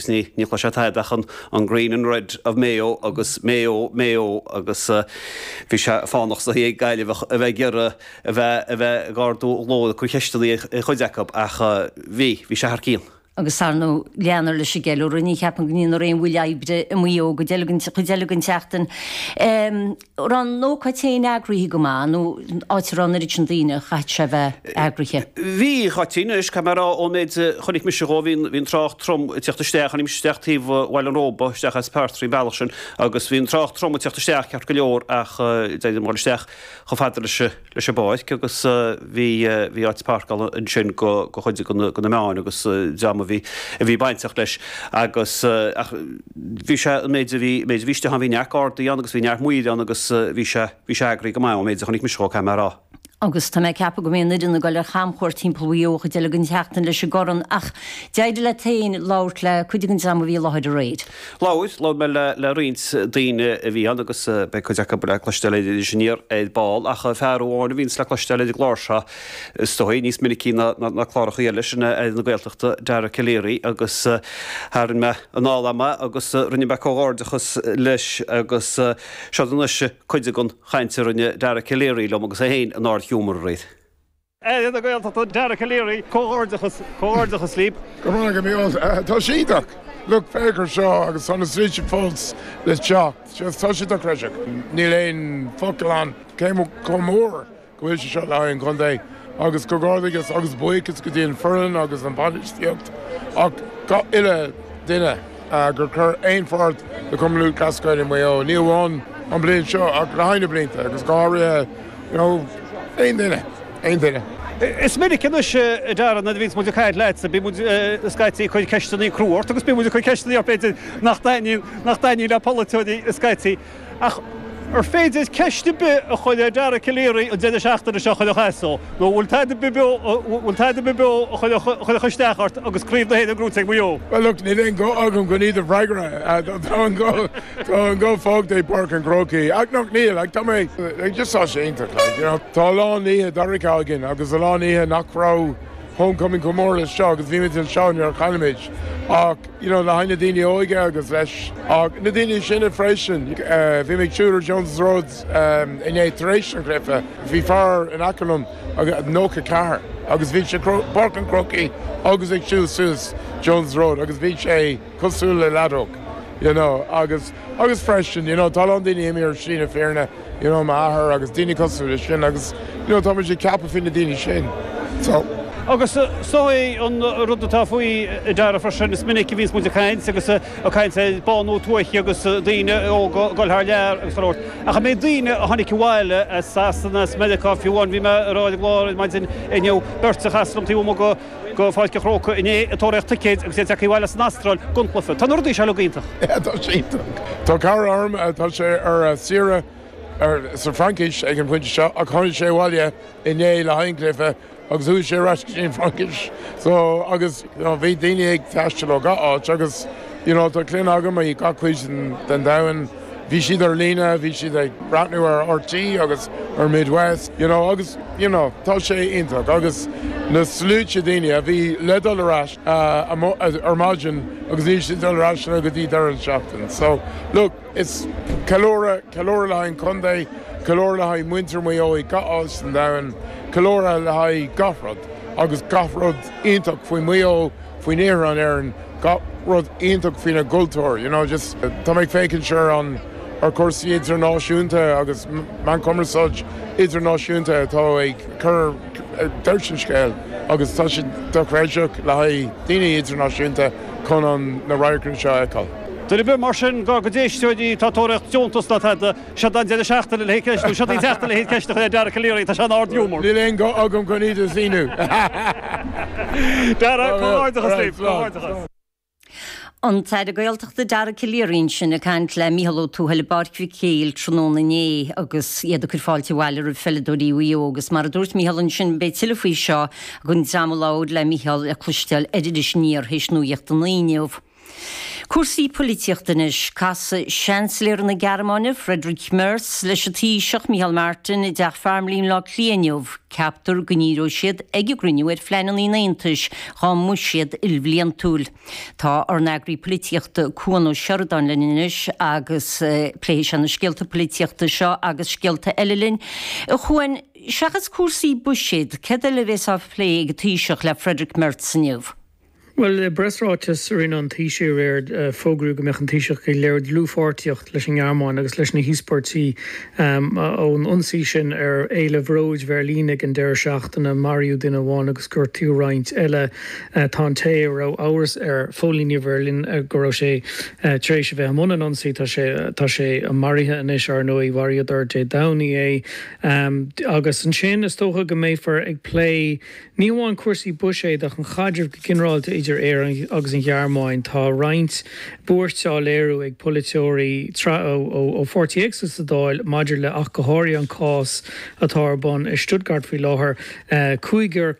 ní ní chloisfeá tada ach an an Green and Red of Mayo agus Mayo, Mayo agus bhí sé fánach is dóichí ag Gaillimh a bheith ag iarraidh a bheith a bheith ag ardú a nglór ag cur ceisteanna ar chuid acu ach bhí, bhí sé thar cionn. Agus ar ndóigh leanfar leis an gceiliúradh, ní cheapaim go ndéanfar aon mhoill oibre i Maigh Eo an chuid eile den chuid eile den tseachtain. Raibh an ócáid féin eagraithe go maith nó áit a raibh an oiread sin daoine, chaithfeadh sé a bheith eagraithe? Bhí, Cháitín, anois caithfidh mé a rá ón méid a chonaic mise dhó, bhí an trácht trom ag teacht isteach, tháinig mise isteach taobh Bhaile an Róba, isteach as Peartraí an bealach sin agus bhí an trácht trom ag teacht isteach ceart go leor ach d'éirigh liom dhul isteach chomh fada leis leis an bpáirc agus bhí bhí áit páirceála ansin go go chuid de na de na meáin agus dream a bhí a bhí bainteach leis agus ach bhí sé an méid a bhí méid a bhí istigh ann bhí neart gardaí ann agus bhí neart maoir ann agus bhí sé bhí sé eagraithe go maith ón méid a chonaic mise dhó caithfidh mé a rá. Agus tá mé ag ceapadh go mbeidh an fhoireann ag dul ar chamchuairt timpeall Mhaigh Eo an chuid eile den tseachtain leis an gcorn ach d'éirigh leat féin labhairt le cuid den dream a bhí i láthair aréir. Labhair, labhair mé le le roinnt daoine a bhí ann agus beidh cuid acu le cloisteáil ar Iris Aniar ar ball ach fear amháin a bhíonns le cloisteáil ar an gclár seo is dóigh níos minicí ná ná cláracha eile, sin é Aire na Gaeltachta Dara Calleary agus tharraing mé anáil agam agus rinne mé comhghairdeachas leis agus seo anois cuid den chaint a rinne Dara Calleary liom agus é féin in ard-ghiúmar aréir. Aire na Gaeltachta Dara Calleary, comhghairdeachas, comhghairdeachas libh. Go raibh maith agat. Tá sé iontach. Look, féach ar seo agus tá na sluaite fós le teacht. Just tá sé dochreidte. Níl aon focal ann cé chomh mór go bhfuil sé seo le haghaidh an chontae agus comhghairdeachas agus buíochas go dtí an foireann agus an bhainistíocht ach gach uile duine gur chuir aon pháirt le Cumann Lúthchleas Gael i Maigh Eo, ní amháin an bliain seo ach le haghaidh na blianta agus go háirithe you know aon duine, aon duine. Is minic anois a Dara nuair a bhíonns muid ag caint leatsa, bíonn muid scaití ag cur ceisteanna crua ort agus bíonn muid ag cur ceisteanna ort b'fhéidir nach dtaitníonn, nach dtaitníonn le polaiteoirí scaití. Ach ar féidir ceist ar bith a chur ar Dara Calleary an deireadh seachtaine seo a chuirfeadh as dó? Nó an bhfuil tada ar bith beo, bhfuil tada ar bith beo a chuirfeadh isteach ort agus Craobh na hÉireann gnóite ag Maigh Eo? Bhuel look, níl aon ghuth agam chun iad a bhfreagra. Tá an guth, tá an guth fágtha i bPáirc an Chrócaigh. Ach nach níl, like tá mé, like just tá sé iontach, like you know. Tá a lán oíche dorcha againn agus a lán oíche nach raibh homecoming chomh mór leis seo agus bhí muid anseo nuair a chaill muid ach, you know, le haghaidh na daoine óige agus leis ach na daoine sine freisin. Bhí mé ag siúl ar Jones's Road inné tar éis an chluiche. Bhí fear in aice liom 94 agus bhí sé Páirc an Chrócaigh agus ag siúl suas Jones's Road agus bhí sé cosúil le leaid óg, you know, agus agus freisin, you know, tá a lán daoine imithe ar shlí na fírinne. you know m'athair agus daoine cosúil leis sin agus you know tá muid ag ceapadh faoi na daoine sin so. Agus is dóigh an rud atá faoi a Dara freisin, is minic a bhíonns muid ag caint agus ag caint ar bánú tuaithe agus daoine óga ag dul thar lear agus chuile shórt. Ach an méid daoine a tháinig abhaile as Sasana, as Meiriceá, fiú amháin bhí mé ag rá ar an gclár ar maidin inniu, beirt a chas liom taobh amuigh go go Pháirc an Chrócaigh inné ag tóraíocht ticéid agus iad tagtha abhaile as an Astráil don chluiche. Tá na rudaí seo uilig iontach. Yeah, tá sé iontach. Tá cara orm, tá sé ar saoire sa Fraincis ag an bpointe seo ach tháinig sé abhaile inné le haghaidh an chluiche agus chuaigh sé ar ais go dtí an Fraincis. So, agus you know, bhí daoine ag taisteal ó gach áit agus you know, tá clainn agam i gach cuid den domhan. Bhí siad ar líne, bhí siad ag breathnú ar RTÉ agus ar Midwest, you know, agus, you know, tá sé iontach agus na sluaite daoine a bhí le dul ar ais ar maidin agus níl siad ag dul ar ais go dtí deireadh na seachtaine. So, look, is ceiliúradh, ceiliúradh le haghaidh an chontae, ceiliúradh le haghaidh muintir Mhaigh Eo i gach áit san domhan, ceiliúradh le haghaidh gach rud agus gach rud iontach faoi Mhaigh Eo, faoin iarthar in Éirinn, gach rud iontach faoina gcultúr, you know, just tá mé ag féachaint ar an, ar chúrsaí idirnáisiúnta agus meán cumarsáid idirnáisiúnta atá ag cur deireadh an scéil agus tá sé dochreidteach le haghaidh daoine idirnáisiúnta chun an, na radharcanna seo a fheiceáil. Duine ar bith mar sin dár gcuid éisteoirí atá ag tóraíocht deontas ná tada, Seo an deireadh seachtaine le haghaidh ceist, nó seo í an tseachtain le haghaidh ceist a chur ar Dara Calleary, tá sé in ard-ghiúmar. Níl aon ghuth agam chun iad a shíniú. Dara, comhghairdeachas libh, comhghairdeachas. An tAire Gaeltachta Dara Calleary ansin ag caint le Mícheál Ó Tuathail i bPáirc Mhic Éil tráthnóna inné agus iad ag cur fáilte abhaile roimh pheileadóirí Mhaigh Eo agus mar a dúirt Mícheál ansin beidh tuilleadh faoi seo ag an dream a labhair le Mícheál le cloisteáil ar Iris Aniar théis nuacht a naoi inniu. Cúrsaí poilitíochta anois. Casfaidh Seansailéir na Gearmáine, Friedrich Merz, leis an Taoiseach, Micheál Martin, i dTeach Farmleigh i mBleá Cliath inniu. Ceaptar go ndíreoidh siad ag an gcruinniú ar phleananna an Aontais dhá mbuiséad ilbhliantúil. Tá ár n-eagraí poilitíochta Cuan Ó Seireadáin linn anois agus pléifidh sé na scéalta poilitíochta seo agus scéalta eile linn. A Chuain, seachas cúrsaí buiséid, céard eile a bhéas á phlé ag an Taoiseach le Friedrich Merz inniu? Bhuel, i bpreasráiteas a rinne an Taoiseach aréir, fógraíodh go mbeadh an Taoiseach ag léiriú dlúthpháirtíocht leis an nGearmáin agus leis na híospairtí ón ionsaí sin ar Fhéile Bhróid Bheirlín ag an deireadh seachtaine. Maraíodh duine amháin agus gortaíodh roinnt eile. Tá an té a raibh amhras ar phóilíní Bheirlín go raibh sé tar éis a bheith i mbun an ionsaí, tá sé tá sé maraithe anois, ar ndóigh. Mharaíodar Dé Domhnaigh é. Agus ansin is dócha go mbeifear ag plé Ní hamháin cúrsaí buiséid ach an chaidreamh go ginearálta idir Éire agus an Ghearmáin. Tá roinnt buairt á léiriú ag polaiteoirí ó pháirtithe éagsúla sa Dáil maidir le ach go háirithe an cás atá ar bun i Stuttgart faoi láthair. Cúigear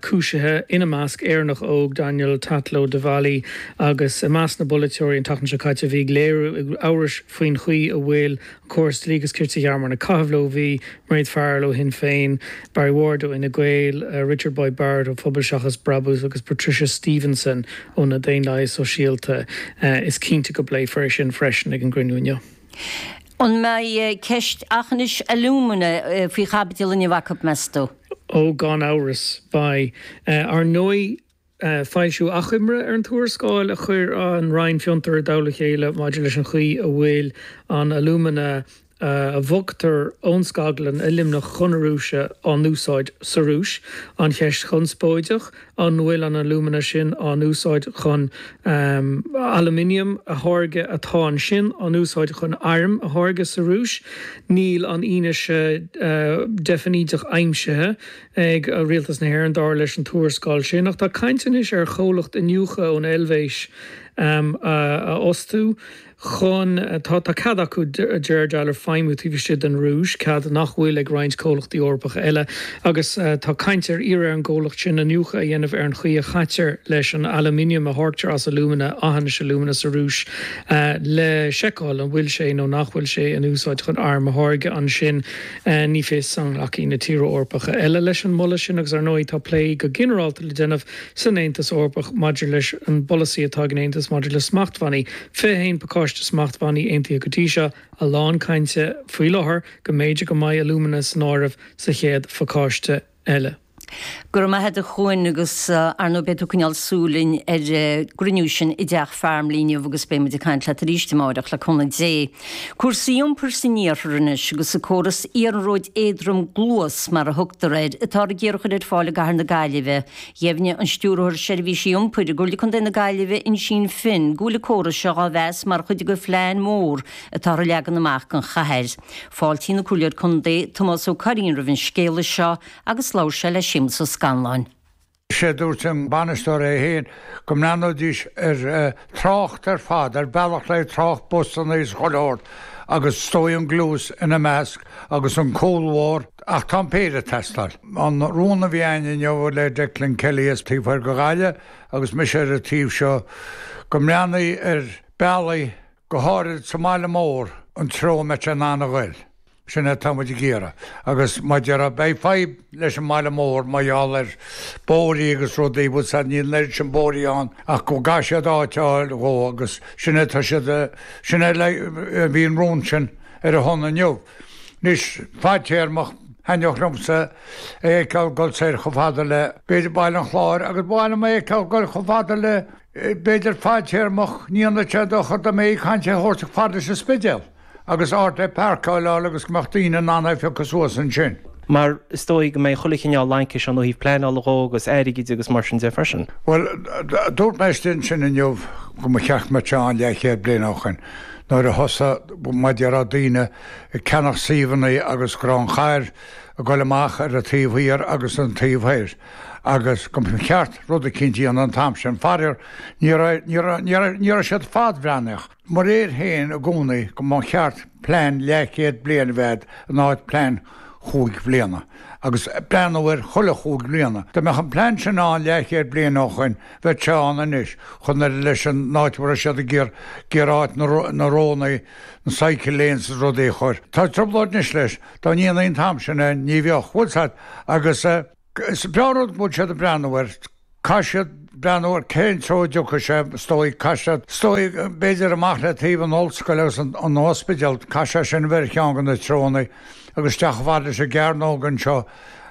cúisithe, ina measc Éireannach óg Daniel Tatlow Devalle agus i measc na bpolaiteoirí an tseachtain seo caite a bhí ag léiriú amhrais faoin chaoi a bhfuil córas dlí agus cirt sa Ghearmáin ag caitheamh leo. Bhí Mairéad Farrell ó Shinn Féin, Barry Ward ó Fhine Gael, Richard Boyd Barrett ó Phobal Seachas Brabús agus Patricia Stevenson ó na Daonlathaithe Sóisialta. Is cinnte go bpléifear é sin freisin ag an gcruinniú inniu. An mbeidh ceist aughinish alumina faoi chaibidil inniu acu, meas tú? Ó, gan amhras, beidh. Ar ndóigh, Foilsíodh achoimre ar an tuarascáil a chuir an Roinn Fiontar i dtoll a chéile maidir leis an chaoi a bhfuil an alúmana a bhogtar ón scaglann i Luimneach chun na Rúise á n-úsáid sa Rúis. An cheist chonspóideach, an bhfuil an alúmana sin á n-úsáid chun aluminiam a tháirgeadh atá ansin á n-úsáid chun airm a tháirgeadh sa Rúis? Níl an fhianaise deifnídeach aimsithe. ag Rialtas na hÉireann, dar leis an tuarascáil sin. Ach tá caint anois ar chomhlacht iniúchadh ón Eilvéis a fhostú chun, tá cead acu de réir dealraimh feidhmiú taobh istigh den Rúis, cead nach bhfuil ag roinnt comhlachtaí Eorpacha eile, agus tá caint ar iarraidh ar an gcomhlacht sin iniúchadh a dhéanamh ar an chaoi a chaitear leis an aluminiam a tháirgtear as alúmana, aughinish alumina sa Rúis, le seiceáil an bhfuil sé nó nach bhfuil sé in úsáid chun airm a tháirgeadh ansin. Ní fios an nglacfaidh na tíortha Eorpacha eile leis an moladh sin agus ar ndóigh tá plé go ginearálta le déanamh san Aontas Eorpach maidir leis an bpolasaí atá ag an Aontas maidir le smachtbhannaí. 21 pacáiste smachtbhannaí aontaithe go dtí seo, a lán cainte faoi láthair go mb'fhéidir go mbeidh alúmana san áireamh sa chéad phacáiste eile. Go raibh maith agat a Chuain agus ar ndóigh beidh tú ag coinneáil súil linn ar an gcruinniú sin i dTeach Farmleigh inniu agus beidh muid ag caint leat arís amáireach le cúnamh Dé. Cúrsaí iompair san iarthar anois agus an córas iarnróid éadrom Gluas mar a thugtar air atáthar ag iarraidh a chur ar fáil i gcathair na Gaillimhe. Dheimhnigh an Stiúrthóir Seirbhísí Iompair i gComhairle Contae na Gaillimhe Uinsíonn Finn go bhfuil an córas seo á mheas mar chuid de phlean mór atáthar a leagan amach don chathair. Fáiltíonn an Comhairleoir Contae Tomás Ó Curraoin roimh an scéala seo agus labhair sé le Séamus Ó Scanláin. Is é a dúirt an bainisteoir é féin go mbreathnóidís ar trácht ar fad, ar bealach le trácht busanna is chuile shórt agus is dóigh an Gluas ina measc agus an cúlbhóthar ach tá an péire ag teastáil. An rún a bhí againn inniu le Declan Kelly as taobh thoir de Ghaillimh agus mise ar an taobh seo go mbreathnaí ar bealaí go háirid sa mbaile mór an treo a mbeadh sé in ann a ghoil. Sin é atá muid ag iarraidh. Agus mar a déarfá, beidh fadhb leis an mbaile mór mar gheall ar bóithrí agus rudaí, bhfuil 's a'd, níl an oiread sin bóithrí ann ach go gcaithfidh siad áit a fháil dhó agus sin é tá siad, sin é a bhí an rún sin ar a shon inniu. Anois, fadtéarmach, thaitneodh liomsa é a fheiceáil dul soir chomh fada le, b'fhéidir Baile an Chláir agus ba mhaith liom é a fheiceáil dul chomh fada le, b'fhéidir fadtéarmach, ní dhéanfadh sé dochar dá mbeifí ag caint é a thabhairt chomh fada leis an Spidéal. agus áit le páirceáil a fháil agus go mbeadh daoine in ann é a phiocadh suas ansin. Mar is dóigh go mbeidh chuile chineál laincis ann ó thaobh pleanála dhó agus airgid agus mar sin de freisin. Bhuel, dúirt mé istigh ansin inniu go mba cheart go mbeadh sé ann leathchéad bliain ó shoin nuair a thosaigh, mar a déarfá, daoine ag ceannach suíomhanna agus go raibh an chathair ag dul amach ar an taobh thiar agus an taobh thoir agus go mba cheart rud eicínt a dhéanamh an t-am sin. Faraor, ní raibh, ní raibh, ní raibh, ní raibh siad fadbhreathnaíoch. Mo réir féin i gcónaí go mba cheart plean leathchéad bliain a bheith in áit plean chúig bhliana. agus breathnú air chuile chúig bliana. Dá mbeadh an plean sin ann leathchéad bliain ó shoin, bheadh sé ann anois, chun ar leis an áit a raibh siad ag iarraidh áit na rónnaí, na cycle lanes is rudaí a chur. Tá trioblóid anois leis, dá ndéanfaí an t-am sin é, ní bheadh, bhfuil 's a'd, agus is breá an rud go bhfuil siad ag breathnú air. Caithfidh siad breathnú ar cén treo a dtiocfaidh sé, is dóigh, caithfidh siad, is dóigh, b'fhéidir amach le taobh an ollscoil agus an ospidéal, caithfidh sé sin a bheith ar cheann de na treonna agus isteach chomh fada leis an gcearnóg anseo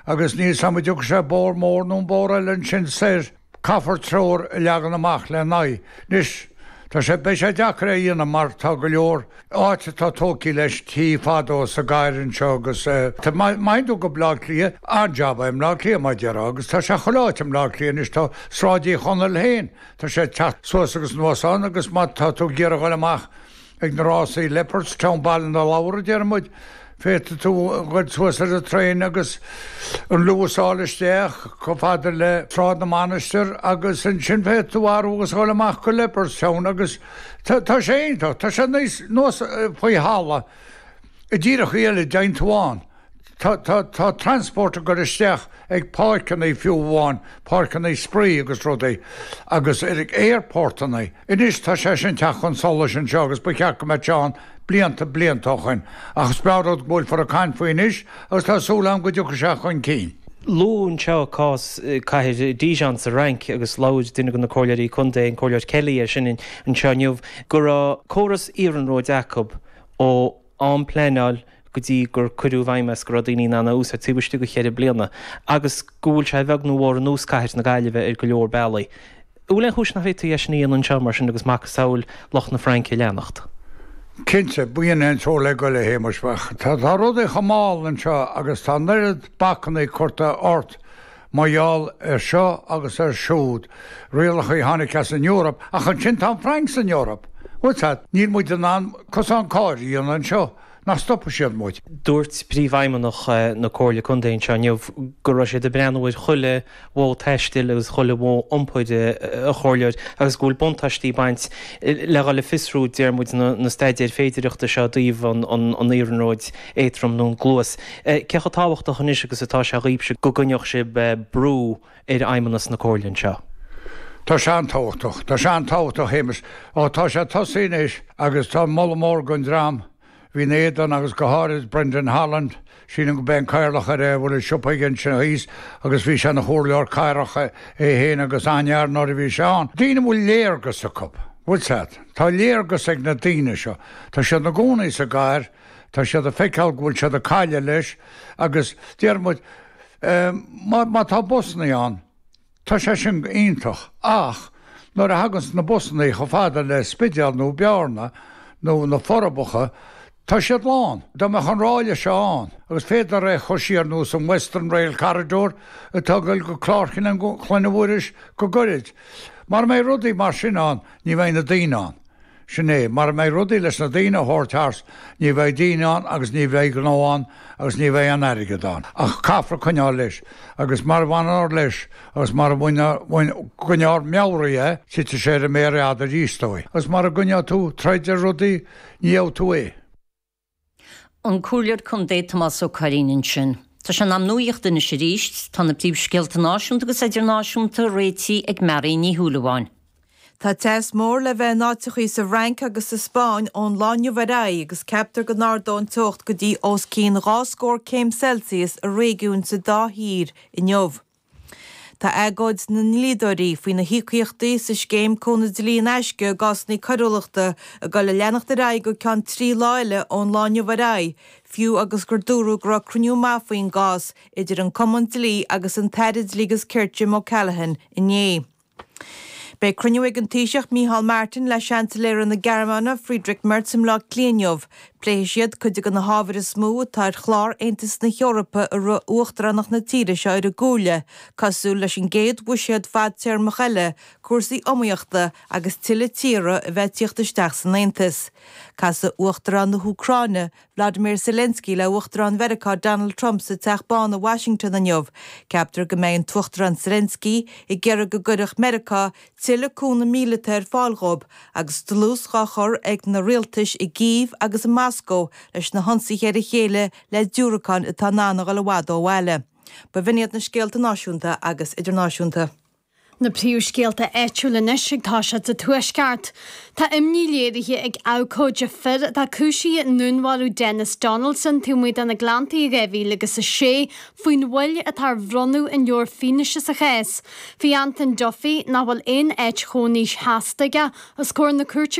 agus níl 's a'm an dtiocfaidh sé bóthar mór nó an bóthar eile ansin soir. Caithfear treoir a leagan amach le n-aghaidh. Anois, tá sé, beidh sé deacair é a dhéanamh mar tá go leor áit atá tógtha leis tí fadó sa gcathair anseo agus tá, má théann tú go Bleá Cliath, an-jab é i mBleá Cliath mar a déarfá agus tá sé chuile áit i mBleá Cliath anois, tá Sráid Uí Chonaill féin, tá sé ag teacht suas agus anuas ann agus má tá tú ag iarraidh dhul amach ag na rásaí Leopardstown, Baile na Lobhar a deir muid, féadfaidh tú dhul suas ar an traein agus an Luas a fháil isteach chomh fada le Sráid na Mainistir agus ansin féadfaidh tú athrú agus dhul amach go Leopardstown agus tá tá sé iontach, tá sé níos nós faoi thalamh i dtíreachaí eile dtéann tú ann. Tá tá tá transport ag dul isteach ag páirceanna fiú amháin, páirceanna spraoi agus rudaí agus ar aerportanna. Anois tá sé sin teacht chun solais anseo agus ba cheart go mbeadh sé ann blianta blianta ó shoin. Ach is breá rud go bhfuilfear ag caint faoi anois agus tá súil agam go dtiocfaidh sé chun cinn. Luadh anseo cás cathair Dijon sa Fhrainc agus labhair duine de na comhairleoirí contae, an Comhairleoir Kelly é sin anseo inniu, go raibh córas iarnróid acu ó am pleanáil go dtí gur cuireadh i bhfeidhm é is go raibh daoine in ann é a úsáid taobh istigh de cheithre bliana agus go bhfuil sé a bheag nó a mhór ar nós cathair na Gaillimhe ar go leor bealaí. An bhfuil aon chúis nach bhféadfaí é sin a dhéanamh anseo mar sin agus macasamhail lucht na Fraince a leanacht? Cinnte, b'in é an treo le goil a Shéamais. Tá rudaí chomh mall anseo agus tá an oiread bacannaí curtha ort mar gheall ar seo agus ar siúd, rialacha a tháinig as an Eoraip, ach ansin tá an Fhrainc san Eoraip. Bhfuil 's a'd, níl muid in ann cosán cairr a dhéanamh anseo, nach stopfaidh siad muid. Dúirt Príomhfheidhmeannach na Comhairle Contae anseo inniu go raibh siad ag breathnú ar chuile mhodh taistil agus chuile mhodh iompair, a Chomhairleoir, agus go bhfuil buntáistí ag baint le dhul ag fiosrú, deir muid, na staidéir féidireachta seo i dtaobh an iarnróid éadrom nó an gluas. Cé chomh tábhachtach anois agus atá sé dhaoibhse go gcoinneodh sibh brú ar fheidhmeannas na Comhairle anseo? Tá sé an-tábhachtach. Tá sé an-tábhachtach, a Shéamais. Ó, tá sé tosaithe anois agus tá moladh mór don dream a bhí ina éadan agus go háirid Brendan Holland, sílim go b'é an cathaoirleach ar é a bhfuil an siopa aige ansin thíos agus bhí sé ina chomhairleoir cathrach é féin agus an-fhear nuair a bhí sé ann. Daoine a bhfuil léargas acu, bhfuil 's a'd. Tá léargas ag na daoine seo. Tá siad ina gcónaí sa gcathair. Tá siad ag feiceáil go bhfuil siad ag cailleadh leis agus deir muid, má tá busannaí ann, tá sé sin iontach ach nuair a thaganns na busannaí chomh fada le Spidéal nó Bearna nó na Forbacha, tá siad lán. Dá mbeadh an ráille seo ann agus féadfar é a chur siar nós an Western Rail Corridor atá ag dul go Clár Chlainne Mhuiris go gairid. Mara mbeidh rudaí mar sin ann, ní bheidh na daoine ann. Sin é. Mara mbeidh rudaí leis na daoine a thabhairt thart, ní bheidh daoine ann agus ní bheidh gnó ann agus ní bheidh aon airgead ann. Ach caithfear coinneáil leis. Agus mara bhfanfar leis agus mara gcoinneofar meabhraithe é, titfidh sé ar an méar fhada arís, is dóigh. Agus mara gcoinneoidh tú troid ar rudaí, ní gheobhaidh tú é. An Comhairleoir Contae Tomás Ó Curraoin ansin. Tá sé in am nuachta anois arís. Tá na príomhscéalta náisiúnta agus idirnáisiúnta réitithe ag Mary Ní Shúilleabháin. Tá teas mór le bheith in áiteachaí sa bhFrainc agus sa Spáinn ón lá inniu ar aghaidh agus ceaptar go n-ardóidh an teocht go dtí os cionn 2 scór céim Celsius i réigiúin sa dá thír inniu. Tá agóid na ndlíodóirí faoi na híocaíochtaí sa scéim cúnamh dlí in aisce i gcásanna coiriúlachta ag dul a leanacht ar aghaidh go ceann 3 lá eile ón lá inniu ar aghaidh, fiú agus gur dúradh go raibh cruinniú maith faoin gcás idir an Cumann Dlí agus an tAire Dlí agus Cirt Jim O'Callaghan inné. Beidh cruinniú ag an Taoiseach Micheál Martin le Seansailéara na Gearmáine Friedrich Merz i mBleá Cliath inniu. Pléifidh siad cuid de na hábhair is mó atá ar chlár Aontas na hEorpa i rith uachtaránacht na tíre seo ar an gComhairle, cosúil leis an gcéad bhuiséad fadtéarmach eile, cúrsaí iomaíochta agus tuilleadh tíortha a bheith ag tíocht isteach san Aontas. Casfaidh Uachtarán na hÚcráine, Vladimir Zelensky le Uachtarán Mheiriceá Donald Trump sa Teach Bán i Washington inniu. Ceaptar go mbeidh an tUachtarán Zelensky ag iarraidh go gcuirfeadh Meiriceá tuilleadh cúnamh míleata ar fáil dhóibh agus dlús dhá chur ag na rialtais i gCív agus i Moscó leis na hionsaithe ar a chéile le diúracáin atá in ann a dhul i bhfad ó bhaile. B'in iad na scéalta náisiúnta agus idirnáisiúnta. Na príomhscéalta áitiúla anois ag toiseacht sa Tuaisceart. Tá imní léirithe ag abhcóide fir atá cúisithe i ndúnmharú Denis Donaldson taobh amuigh de na Gleanntaí i 2006 faoin mhoill atá ar bhronnadh an leabhair fianaise sa chás. Bhí Anton Duffy, nach bhfuil aon áit chónaí sheasta aige, os comhair na cúirte.